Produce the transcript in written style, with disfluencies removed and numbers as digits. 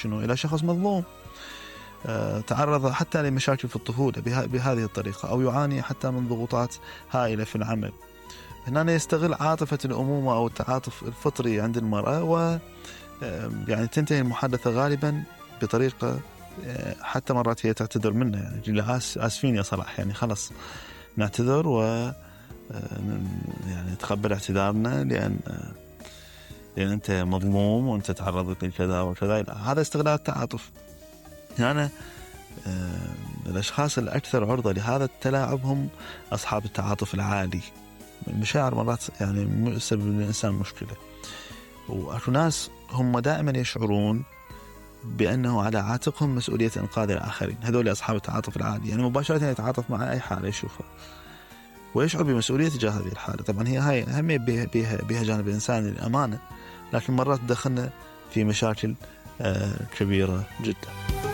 شنو إلى شخص مظلوم تعرض حتى لمشاكل في الطفولة بهذه الطريقة، أو يعاني حتى من ضغوطات هائلة في العمل. هنا يستغل عاطفة الأمومة أو التعاطف الفطري عند المرأة، و يعني تنتهي المحادثة غالبا بطريقة حتى مرات هي تعتذر منه، يعني آسفين يا صلاح، يعني خلص نعتذر و يعني تقبل اعتذارنا لأن أنت مظلوم وأنت تعرضت لكذا وكذا. هذا استغلال التعاطف. يعني الأشخاص الأكثر عرضة لهذا التلاعب هم أصحاب التعاطف العالي. المشاعر مرات يعني سبب للإنسان مشكلة، وأكو ناس هم دائما يشعرون بأنه على عاتقهم مسؤولية إنقاذ الآخرين. هذول أصحاب التعاطف العالي، يعني مباشرة يتعاطف مع أي حالة يشوفها ويشعر بمسؤولية تجاه هذه الحالة. طبعا هي أهم بها جانب الإنسان الأمانة، لكن مرات تدخلنا في مشاكل كبيرة جدا.